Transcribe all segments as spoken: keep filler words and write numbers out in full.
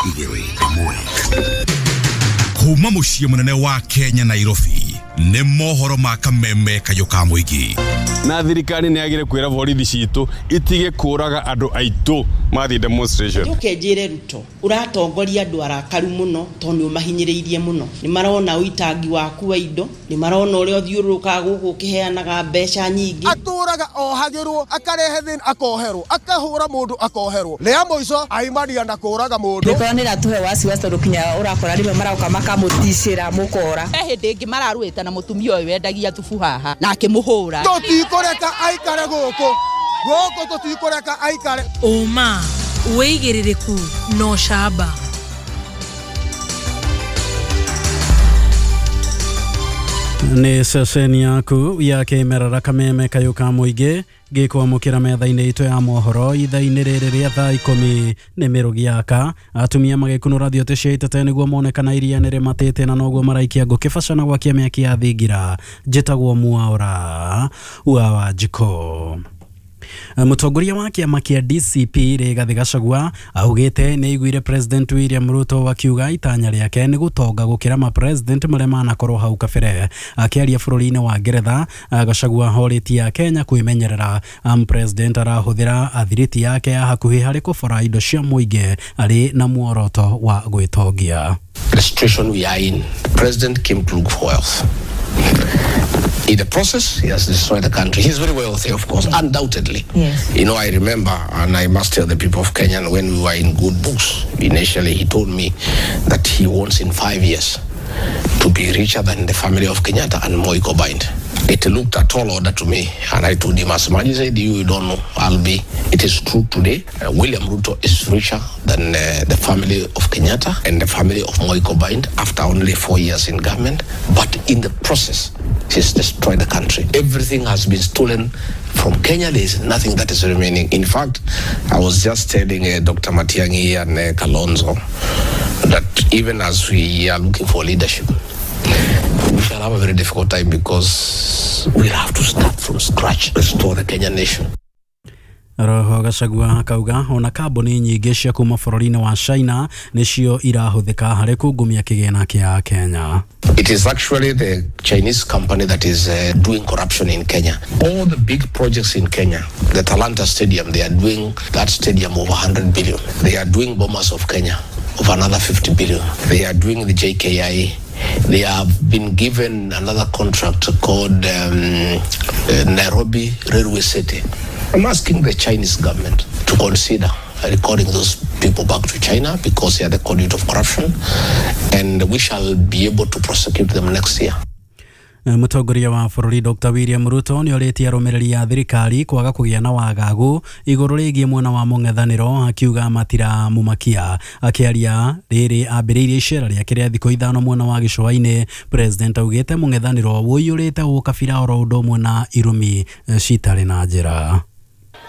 Igĩrĩ ĩmwe. Kuma mũciĩ mũnene wa Kenya Nairobi nĩ mohoro ma kameme kayũ ka mũingĩ. Na thirikari nĩ yagire kwĩra borithi citũ itige kũraga andũ aitũ mathiĩ demonstration. Njoke njĩre Ruto ũratongoria andũ arakaru mũno tondũ nĩ ũmahinyĩrĩirie mũno. Nĩ marona ũitangi waku wa indo, nĩ marona ũrĩa ũthiũrũrũkaga gũkũ ũkĩheanaga mbeca nyingĩ. Atũraga ohagĩrwo, akarehe thĩna akoherwo, akahũra mũndũ akoherwo. Rĩa mũico aimania na kũraga mũndũ. Mĩkora nĩ ĩratũhe wasiwasi tondũ kinya ũrakora rĩmwe marauka makamũticĩra mũkora. He hĩndĩ ĩngĩ mararũĩte na mũtumia ũyũ wendagia thubu haha na akĩmũhũra. Tũtikũreka aikare gũkũ. Gũkũ tũtikũreka aikare. Ũma, wĩigĩrĩrĩku na ũcamba. Nĩ ceceni yaku ya kĩmerera kameme kayũ ka mũingĩ gĩkwamũkĩra metha-inĩ itũ ya mohoro ithaa-inĩ rĩrĩ rĩa thaa ikũmi nĩ mĩrũgi yaka atumia magĩkunũra thiote cia itete nĩguo mone kana iria nĩ rĩmatĩte na noguo maraikia ngũkĩ baca na gwakia mĩaki ya thingira. Njĩtagwo Mwaura wa Wanjikũ. Mũtongoria wa kĩama kĩa D C P Rigathi Gachagua augĩte nĩ aiguire President William Ruto akiuga itanya rĩake nĩ gũtonga gũkĩra ma president marĩa manakorwo hau kabere. Akĩaria bũrũri-inĩ wa Ngeretha, Gachagua ahorĩtie Kenya kwĩmenyerera. President arahũthĩra athiriti yake ya hakuhĩ harĩ kũbora indo cia mũingĩ arĩ na muoroto wa gwĩtongia. The situation we are in, the president came to look for wealth. In the process, he has destroyed the country. He's very wealthy, of course, undoubtedly. Yes. You know, I remember, and I must tell the people of Kenya, when we were in good books, initially he told me that he wants in five years to be richer than the family of Kenyatta and Moi combined. It looked a tall order to me, and I told him, as much as I do, you don't know, I'll be. It is true today. Uh, William Ruto is richer than uh, the family of Kenyatta and the family of Moi combined after only four years in government. But in the process, he's destroyed the country. Everything has been stolen from Kenya. There is nothing that is remaining. In fact, I was just telling uh, Doctor Matiang'i and uh, Kalonzo that even as we are looking for leadership, we shall have a very difficult time because we'll have to start from scratch, restore the Kenyan nation. Roho Gachagua akauga ona kambuni nyingĩ cia kuma bũrũri-inĩ wa China nĩcio irahũthĩka harĩ kungumia kĩgĩna kĩa Kenya. It is actually the Chinese company that is uh, doing corruption in Kenya. All the big projects in Kenya, the Talanta Stadium, they are doing that stadium over one hundred billion. They are doing Bomas of Kenya of another fifty billion. They are doing the J K I. They have been given another contract called um, uh, Nairobi Railway City. I'm asking the Chinese government to consider recalling those people back to China because they are the conduit of corruption, and we shall be able to prosecute them next year. Mũtongoria wa bũrũri Doctor William Ruto nĩ orĩtie arũmĩrĩri a thirikari kwaga kũgĩa na wagagu igũrũ rĩgiĩ mwena wa mũng'ethanĩro akiuga matiramumakia. Akĩaria rĩrĩ ambĩrĩirie icera rĩake rĩa thikũ ithano mwena wa gĩcũa-inĩ, President augĩte mũng'ethanĩro ũiyũrĩte ũkabira oro ũndũ ũmwe na irumi citarĩ na njĩra.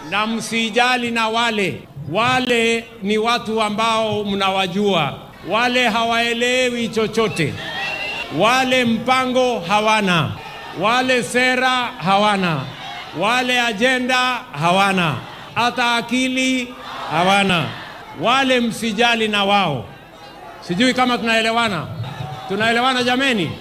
Na msijali na wale wale ni watu ambao mnawajua, wale hawaelewi chochote, wale mpango hawana, wale sera hawana, wale agenda hawana, hata akili hawana. Wale msijali na wao. Sijui kama tunaelewana. Tunaelewana jameni?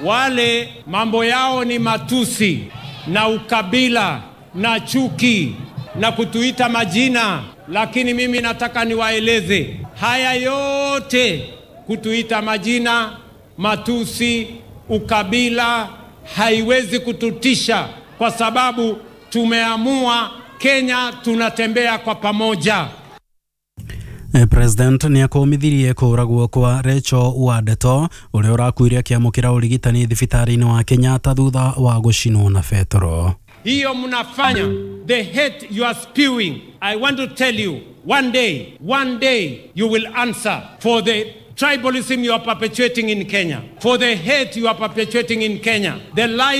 Wale mambo yao ni matusi na ukabila na chuki na kutuita majina, lakini mimi nataka niwaeleze haya yote, kutuita majina, matusi, ukabila haiwezi kututisha kwa sababu tumeamua Kenya tunatembea kwa pamoja. President nĩ akũmithirie kũragwo kwa Rachel Wandeto ũrĩa ũrakuire akĩamũkĩra ũrigitani thibitarĩ-inĩ wa Kenyatta thutha wa gũcinwo na betoro. Hiyo mnafanya, the hate you are spewing, I want to tell you, one day, one day you will answer for the tribalism you are perpetuating in Kenya, for the hate you are perpetuating in Kenya, the lies